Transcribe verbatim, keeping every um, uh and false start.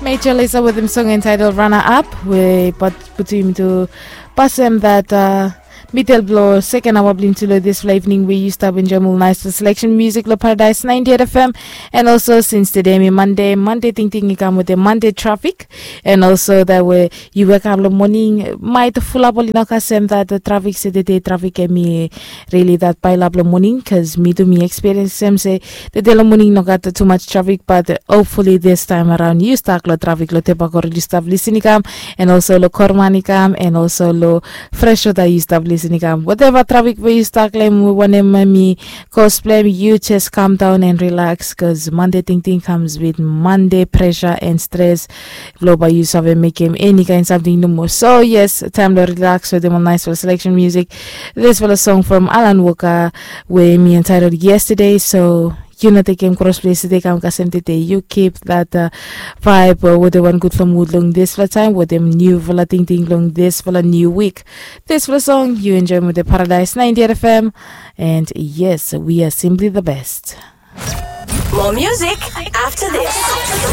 Major Lazer with him song entitled Runner Up, we but putim to pass him that uh, middle blow second hour blin to lo this evening we used to have enjoy more nice selection music lo Paradise ninety-eight F M. And also since today mi Monday, Monday ting ting i kam with the Monday traffic. And also that way you wake up lo morning, might full up all enough kasem that the traffic se the day traffic and me really that pile up lo morning, cause mi tu mi experience sem se the day lo morning no got too much traffic, but uh, hopefully this time around you stuck lo traffic lo tepakor you stop listening kam, and also lo kormani kam, and also lo fresh water you stop listening kam, whatever traffic where you stuck lem wanem mi cause blame you just calm down and relax, cause Monday ting ting comes with Monday pressure and stress. Lo ba you save mekem any kind something no more. So yes, time lo relax with them on nice for selection music. This for a song from Alan Walker where me entitled Yesterday. So you know they came cross place they come kasem today. You keep that uh, vibe uh, with the one good for mood long this for time with them new for ting ting long this for a new week. This for a song you enjoy with the Paradise ninety-eight F M. And yes, we are simply the best. More music after this.